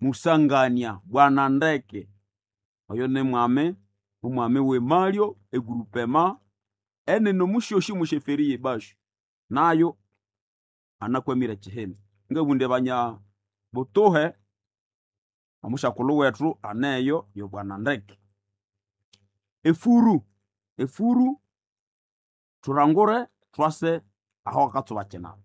Musangania Bwana Ndeke. Oyo ni mwami, omwami w'emalyo egroupement enene omusyosi omusheferi y'ebashu. Nayo anakwamire ekihimba. Ngabugha banya butuhe, omusyakulhu wethu aneyo yo Bwana Ndeke. Efuru, efuru thulangure thwase aho akatsuba kinaba.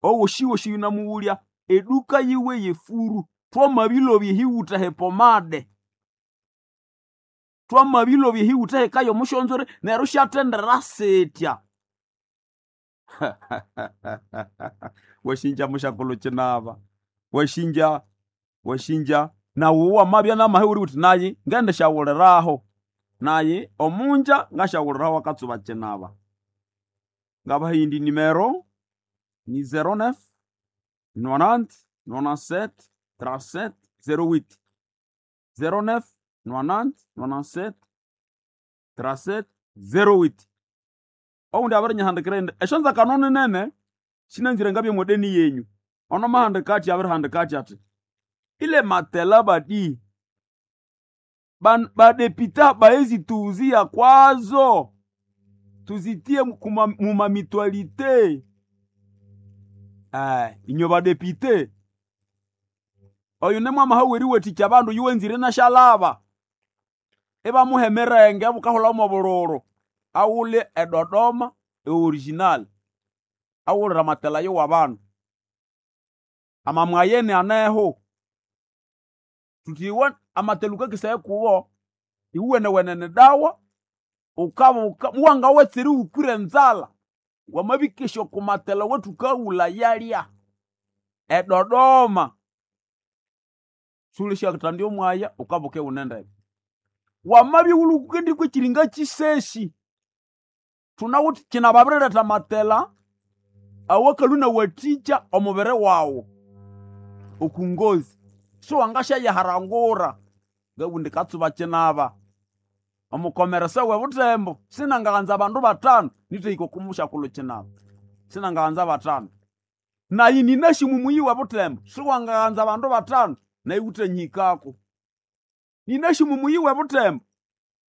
Owoshiwoshi yunamughulya eduka yiwe y'efuru, thwamabilobya ehiwutha h'epomade, thwamabilobya ehiwutha hekayo omusyonzwere neryo isyathendera sitya. Wasinja musyakulhu kinaba, wasinja, wasinja nawu wamabya namahe wuli wuthi nayi ngendisyawuliraho, nayi omunja ngasyawuliraho akatsuba kinaba. Ngabaha eyindi nimero ni 09 90 97 37 08 09 90 97 37 08. Owundi abirinyihandikira indi esyonzakano ninene sinanzire ngabye mwedeni yenyu. Ono mahandika athi abirihandika athi athi ile matela badi badepita baezituuzia kwazo tuzitie mumamitualite. Inyo badepite oyu nimwamaha weriwathikya abandu yuwenzire nasyalaba ibamuha emirenge bukahulha mwobulhulu aghule eDodoma eoriginal aghulire amatela ayo w'abandu. Amamwayene aneho thuthi iwe amatela wukakesaya kuwo iwuwenewene dawa wukabuka muwangawetsera iwukwire enzalha wamabikesya oko matela awathukawulha yalya eDodoma siwulĩsyatandya omwaya wukabuka iwune ndeke. Wamabya iwulhwe wukendikwa ekiringa kisesi thunawithe kinababiriletha amatela awakalhwa inawathikya omubiri waghu oku ngozi siwangasyayiharangura. Ngabugha indi katsuba kinaba omukomeresa w'ebuthembo sinangaghanza abandu bathanu nithahika oku musyakulhu kinaba, sinangaghanza bathanu. Nayi ninasi mumuyi w'ebuthembo siwangaghanza abandu bathanu nayi wuthanyihikako. Ninasi mumuyi w'ebuthembo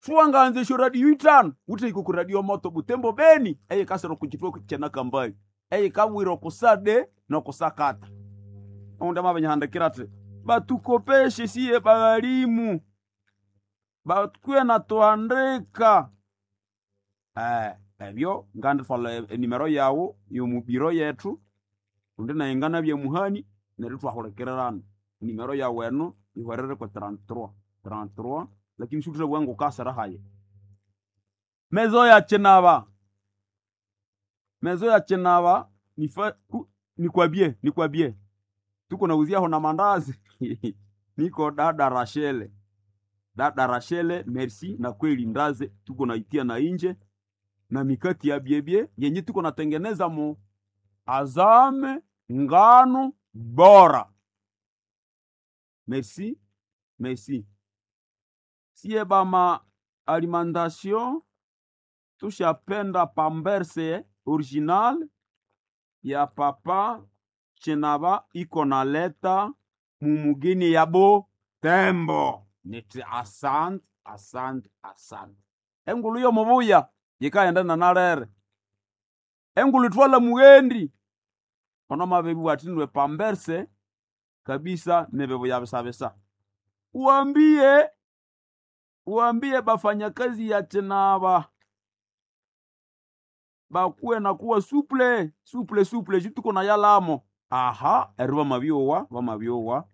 siwangaghanza esyoradio ithanu wuthahika oku radio moto Butembo Beni eyikasira oku kitwa kyenakambali eyikabwira oku sade n'oku sakata. Owundi amabinyihandikira athi batukopeshe siye baghalimu bakuye nathuhandika. Ebyo ngandithwalha enimero yaghu y'omubiro yethu kundi nayi nganabya muhani neryo ithwahulikirana. Enimero yaghu eno ihwerere kwe 33 33 lakini siwuthabugha ngukasira hayi. Mezo ya kinaba, mezo ya kinaba nikwabye nikwabye tuko nauziaho na mandazi niko dada Rachele, dada Rachele merci na kweli ndaze tuko naitia na inje na mikati ya byebye yenye tuko natengeneza mu azame ngano bora. Merci merci siye bama alimentation tushapenda pamberse original ya papa chinaba iko naleta mumugini yabo tembo niti asante asante asante. Engulu yomubuya yikaghenda nanalere engulu ithwala mughendi ono mabibugha athi nwe pamberse kabisa nebibuya bisabisa. Uambie uambie bafanyakazi ya chinaba bakuwe nakuwa suple suple suple ju tuko na yalamo. Aha eryo bamabyowa bamabyowa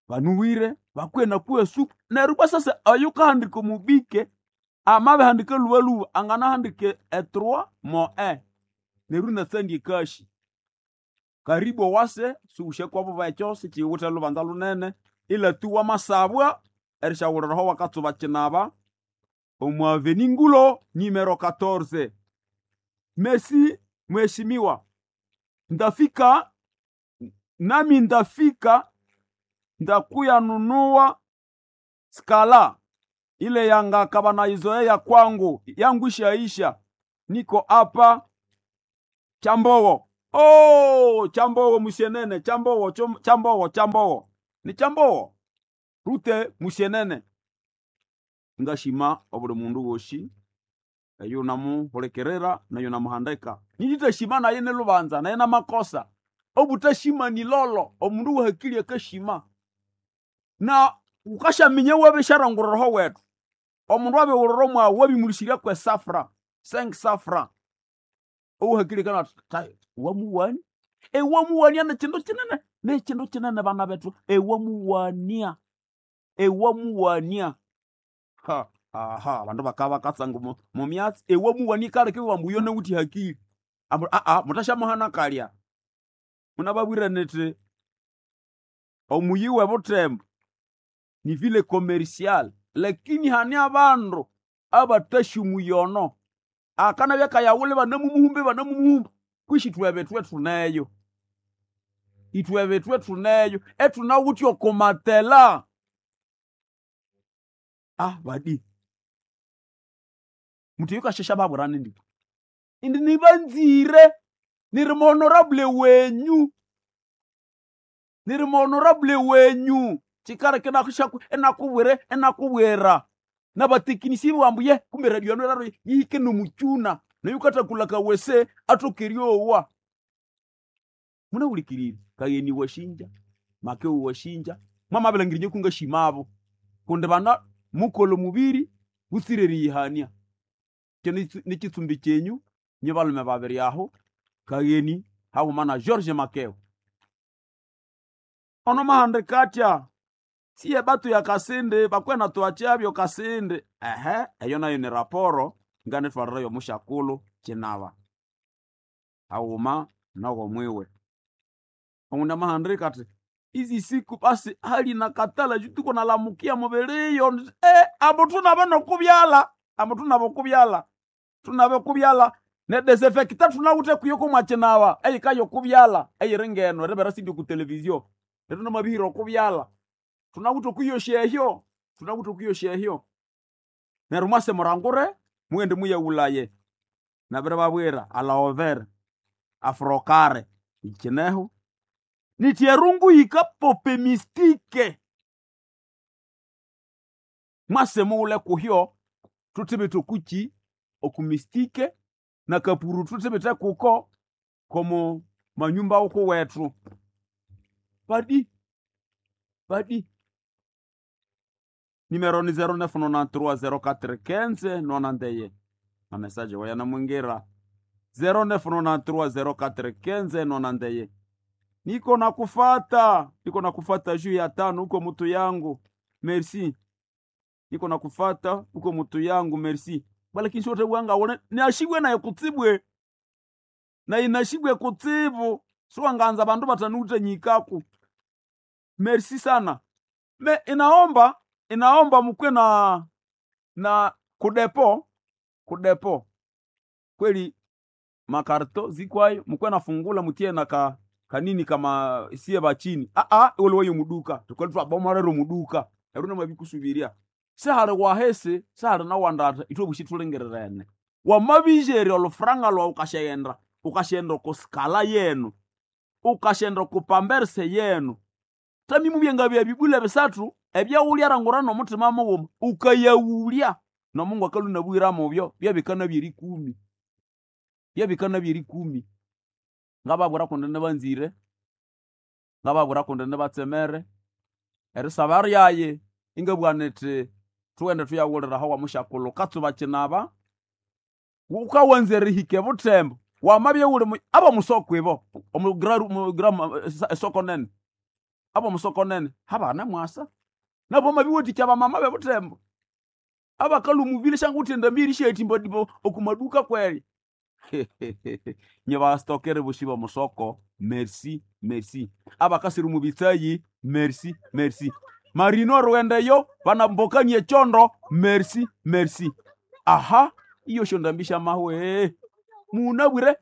banuwire bakuwe nakuwa suple neryo bwa sasa oyukahandika omubike amabihandika lhubalhuba anganahandika e3 mo e neryo inasandya ekashi. Karibu owase siwusyakwabo bekyo sikiwithe lhubanza lunene ila tu wamasabwa erisyawuliraho wakatsuba kinaba omu avenue Ngulo numero 14. Merci mheshimiwa, ndafika nami ndafika ndakuya nunua skala ile yangaka banaizoea kwangu yangu ishaisha, niko hapa Chambogo. Oh, Chambogo musienene Chambogo Chambogo Chambogo. Nikyambowo rute musyenene. Ngashima obuli mundu wosi eyo namuhulikirira neyo namuhandika. Nindithashima naye nilubanza naye namakosa. Obutashima ni lolo, omundu wahakili akashima. Na ukashaminya wabisharanguriraho wetu. Omundu abiwulira mwawu wabimulisirya kwe safra, 5 safra. Owahakili kana wamuwania. Ewamuwania nekindu kinene, nekindu kinene bana bethu. Ewamuwania. Ewamuwania. Ha, aha, abandu bakaba bakatsanga mu myatsi. Ewamuwania ikaleka iwamba uyo nawuthi hakili. Ambu aa muthasyamuhana kalya. Munababwira nithi omuyi w'ebuthembo ni vile commercial, lakini hane abandu abathasya akanabya kayawule banamumuhumba banamumuhumba kwishi ithwe thuneyo. Ithwe thuneyo ethunawithe okumatela. Ah badi. Muthi yukashesha babwirane ndi. Indi nibanzire niri honorable wenyu. Niri honorable wenyu. Chikareke nakushaku enakubwire enakubwira. Nabatekinisi bambuye kumbe radio yanu raro yihike nomuchuna. Nayukatakula kawese atokeryowa. Munahulikirire kayeni washinja, makeo washinja, mwamabilangirinye kunga shimabo. Kundi bana mukolo mubiri butsire yihania. Kyo nikitsumbi kyenyu nyibalume babiri aho kayeni hahuma na George Makeo. Ono mahandika atya siye batu ya Kasindi bakwena tuachabyo Kasindi. Ehe, eyo nayo ni raporo nganitwarirayo mushakulu kinaba. Hahuma nogo mwiwe. Omunda mahandika ati izi siku basi hali nakatala juu tuko nalamukia mubiriyo. Abo tunabo nokubyala, abo tunabo kubyala. Tunabo kubyala ne desinfectant tunawuthe kuyo mwakinaba eyikayo kubyala eyiringeno eribera sindi ku televizio. Rero namabihira okubyala. Tunawuthe okuyosya ehyo, tunawuthe okuyosya ehyo. Neryo mwase murangure mughende muyaghulaye. Nabiribabwira alaovera, afrokare ikineho. Nithi erungu yikapope mistike. Mwase mughule kuhyo thuthibithe okuki okumistike na kapuru thuthibithe kuko komo manyumba ukuwethu. Badi badi nimero ni 09930415 nonandeye. Amesaje wayanamwingira 09930415 nonandeye. Niko nakufata, niko nakufata juu ya tano huko mutu yangu. Merci. Niko nakufata huko mutu yangu, merci. Bala kinshi wote wanga wone niashibwe naye kutsibwe. Na inashibwe kutsibu. Siwanganza bandu batanute nyikaku. Merci sana. Me inaomba, inaomba mukwe na kudepo, kudepo. Kweli makarto zikwayo mukwe nafungula mutie na ka kanini kama siye bachini. A a ole wayo muduka. Tukoli twabomorero muduka. Eruna mabikusubiria. Sehali wahese, sehali nawandata itwe bushitulengererene. Wamabijeri olufranga lwa ukashenda, ukashenda kuskala yenu. Ukashenda kupamberse yenu. Tami mubyenga bya bibula bisathu ebyawulya rangura nomutima mughuma ukayawulya nomungu akalunabwira mubyo byabikana byerikumi. Byabikana byerikumi. Ngababwira kundi nibanzire, ngababwira kundi nibatsemere. Erisaba ryaye ingabugha nithi thughende thuyawulira aho wamushakulu katsuba kinaba wukawanza erihika ebuthembo wamabya wuli abomusoko ibo esoko nene abomusoko nene habana mwasa nabo mabiwathikya abamama bebuthembo abakalha omubiri syanguthi endambi erisyathimba okumaduka kweri. Nyibastokere bosi bomusoko merci merci. Abakasira omu bitsayi merci merci. Marino rughendeyo banambokania echondo merci merci. Aha iyo syondambi syamahwe munabwire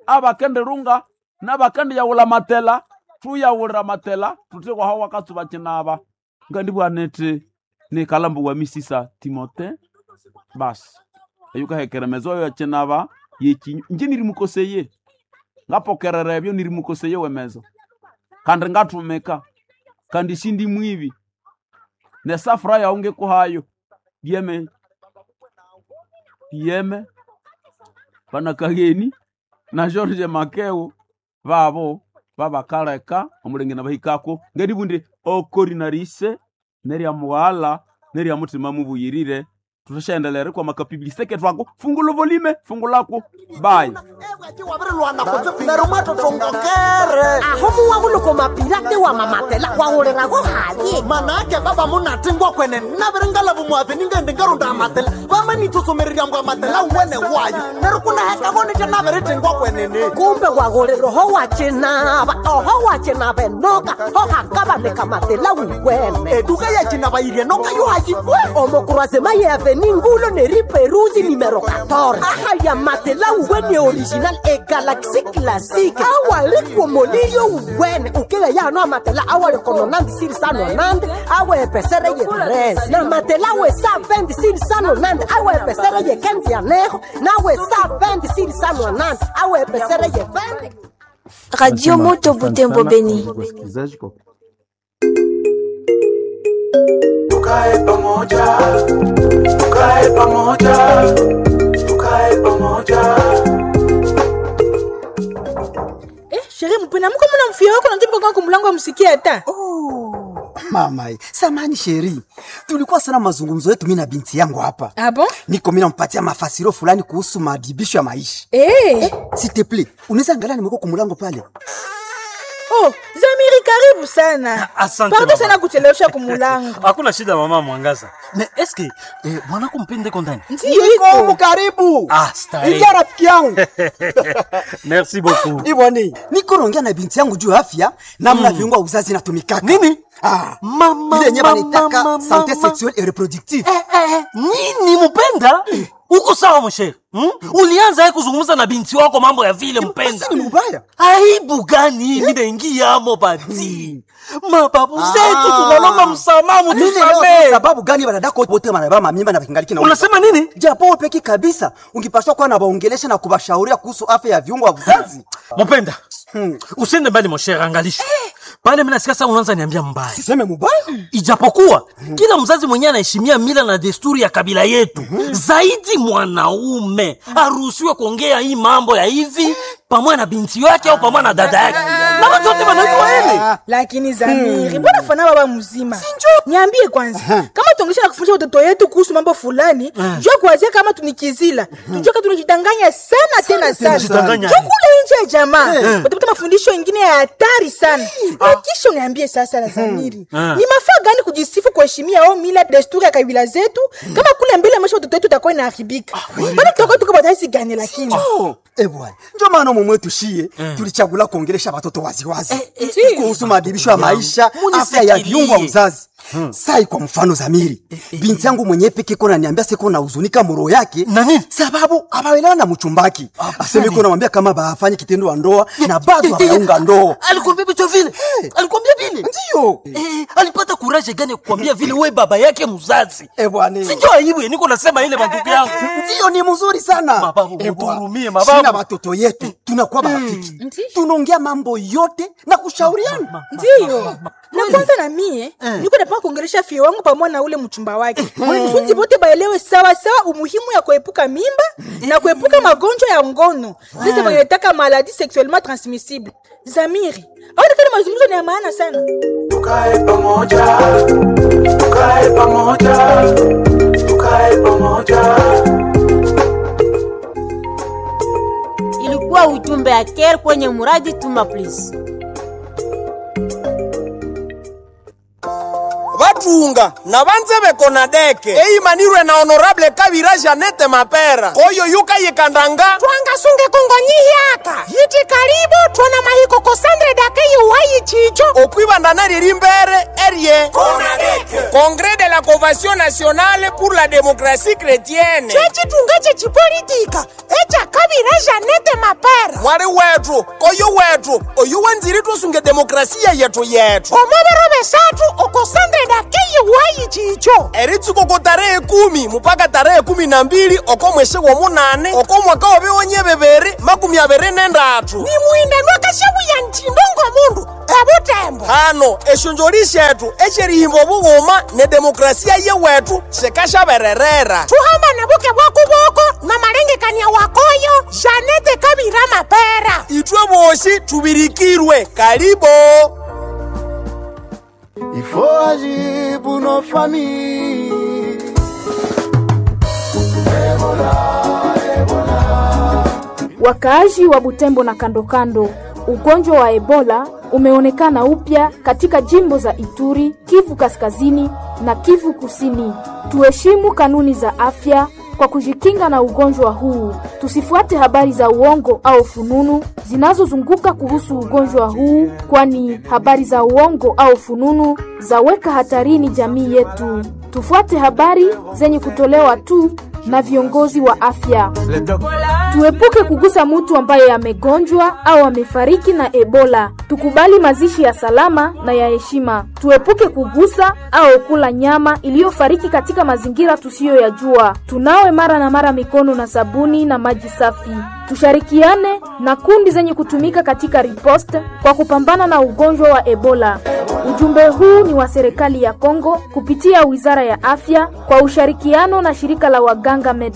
abakendirunga nabakendiyawulha matela thuyawulira matela thuthi waho wakatsuba kinaba. Ngandibugha nithi nikalhambo wa misisa Timote basi eyukahekera emezo oyo kinaba yekinyu inje nirimukoseye ngapokerera ebyo nirimukoseye wemezo kandi ngathumika. Kandi sindi mwibi. Nesafura yawu ngikuhayo. Dieme. Dieme. Bana Kageni na George Makeo babo babakaleka omulenge nabahikako ngeribundi okorinarise nerya mughala nerya mutima mubuyirire tutashaendelera kwa makapibilise ketwako fungula volume fungulako bye. Aho muwahuluko mapirate wa mamatela wahulirago haye. Manake baba munatingwa kwene nabiringalavu mwave ningende ngarunda amatela vamanitsosomererya mbwa amatela wene wayo nero kunahekavonete naviritingwa kwenene. Kumbe wahulira oho wachinava oho wachinava enoka ohakavaneka matela wuwene. Eduka yacinava yirye noka yohayikwe. Omokurwazema ye avenue ngulo neriperuzi numero 14 ahaya matela wuwene original e galaxy classique awalikwomoliyo wuwene ukeya yano amatela awalikononandi sirisanonandi awepesere ye 13 na matela we 120 sirisanonandi awepesere ye 15 yaneho nawe 120 sirisanonandi awepesere ye 20. Radio Moto Butembo Beni. Wasikilizaji kwa Tukae pamoja, tukae pamoja, tukae pamoja. Eh, chérie mpena mko mna mfia wako najibu kwa kumulango amsikie hata. Oh, mama, samani sheri, tulikuwa sana mazungumzo yetu mimi na binti yangu hapa. Ah bon? Niko mimi nampatia mafasiro fulani kuhusu maadhibisho ya maisha. Eh. S'il te plaît, unaweza angalia nimeko kumulango pale. Oh, Zamiri karibu sana. Asante, Pardon mama. sana kuchelewesha kumulango. Hakuna shida mama Mwangaza. Me eske mwanako mpende iko ndani? Ndiyo iko. Karibu. Ah, starehe. Ingia rafiki yangu. Merci beaucoup. Iboni, niko naongea na binti yangu juu ya afya namna viungo vya uzazi inatumikaka. Nini? Ah, Mama, ile yenyewe mama, banitaka mama, santé mama. sexuelle et reproductive. Eh, eh, nini mpenda? Uko sawa mshere? Hmm? Ulianza ye kuzungumza na binti wako mambo ya vile mpenda. Sasa ni mbaya. Aibu gani mimi naingia amo bati? Mababu zetu tunalomba msamaha Mimi leo mtusamee. sababu gani wanadako wote wanabeba mamimba na kingaliki na Unasema nini? Japo peki kabisa ungipaswa kuwa na waongelesha na kuwashauria kuhusu afya ya viungo vya uzazi. Mpenda. Usiende mbali mshere, angalisha. Pale mimi nasikia sasa unaanza niambia mbaya. Siseme mubaya? Ijapokuwa kila mzazi mwenyewe anaheshimia mila na desturi ya kabila yetu, zaidi mwanaume aruhusiwe kuongea hii mambo ya hivi pamoja na binti yake au pamoja na dada yake, na watu wote wanajua hili. Lakini Zamiri, mbona fana baba mzima? Niambie kwanza, kama tuongesha na kufundisha watoto yetu kuhusu mambo fulani, jua kuanzia kama tunikizila, tujue kama tunajidanganya sana tena sana. Tunajidanganya. Jua kule nje ya jamaa, utapata mafundisho ingine ya hatari sana. Na kisha uniambie sasa la Zamiri, ni mafaa gani kujisifu kuheshimia au mila desturi ya kabila zetu kama kule mbele maisha watoto wetu itakuwa inaharibika? Mbona tutakuwa tuko bataisi gani lakini? Eh bwana, ndio maana mumwe tushie tulichagula kuongelesha watoto waziwazi kuhusu maadhibisho ya maisha, afya ya viungo vya uzazi. Sai kwa mfano Zamiri, binti yangu mwenyewe peke kona niambia siko na huzunika moro yake Na nini? sababu abaelewa na mchumbaki. Aseme iko namwambia kama baafanye kitendo wa ndoa na bado hawaunga ndoa. Alikwambia vitu vile? Alikwambia vile? Ndio. Eh, alipata kuraje gani ya kukwambia vile we baba yake mzazi? Eh bwana. Si ndio aibu niko nasema ile mandugu yangu. Ndio ni mzuri sana. Mababu, Eh, bwana. mutuhurumie, mababu. Sina watoto yetu tunakuwa marafiki. Tunaongea mambo yote na kushauriana. Ndiyo. Na kwanza na mie niko napanga kuongelesha fie wangu pamoja na ule mchumba wake kusudi bote baelewe sawa sawa umuhimu ya kuepuka mimba na kuepuka magonjwa ya ngono sasa wanataka maladie sexuellement transmissible. Zamiri, aonekana mazungumzo ni ya maana sana. Tukae pamoja, tukae pamoja, tukae pamoja. Ilikuwa ujumbe ya Care kwenye muradi Tuma Please. Vatunga na vanze vekona deke eimanirwe na honorable Kavira Janete Mapera koyo yukayikandanga twangasunge kongonyihyaka yiti karibu twona mahiko kosandre dake yuwayi chicho okwivandana riri mbere erie Konadeke. Congrès de la Convention nationale pour la démocratie chrétienne chechitunga chechipolitika echa Kavira Janete Mapera mwali wetu koyo wetu oyu wenziri tusunge demokrasia yetu yetu omobero besatu okosandre dake yiwayi chicho Eritsuko ko tarehe 10 mpaka tarehe 12 oko mwesi womunane oko mwaka w'ebiwonye 2023 ni mwinda nwakashabuya ntindongo mundu ebutembo Hano eshonjoli shetu eshерihimba obughuma ne demokrasia yewetu shikashabererera. Tuhambane buke bwa kuboko na malengekania wakoyo Janete Kabira Mapera. Itwe bosi tubirikirwe karibo. Il faut agir pour nos familles. Wakaaji wa Butembo na kando kando, ugonjwa wa Ebola umeonekana upya katika jimbo za Ituri, Kivu Kaskazini na Kivu Kusini. Tuheshimu kanuni za afya kwa kujikinga na ugonjwa huu. Tusifuate habari za uongo au fununu zinazozunguka kuhusu ugonjwa huu, kwani habari za uongo au fununu zaweka hatarini jamii yetu. Tufuate habari zenye kutolewa tu na viongozi wa afya. Tuepuke kugusa mtu ambaye amegonjwa au amefariki na Ebola. Tukubali mazishi ya salama na ya heshima. Tuepuke kugusa au kula nyama iliyofariki katika mazingira tusiyoyajua. Tunawe mara na mara mikono na sabuni na maji safi. Tushirikiane na kundi zenye kutumika katika riposte kwa kupambana na ugonjwa wa Ebola. Ujumbe huu ni wa serikali ya Kongo kupitia Wizara ya Afya kwa ushirikiano na shirika la waganga Med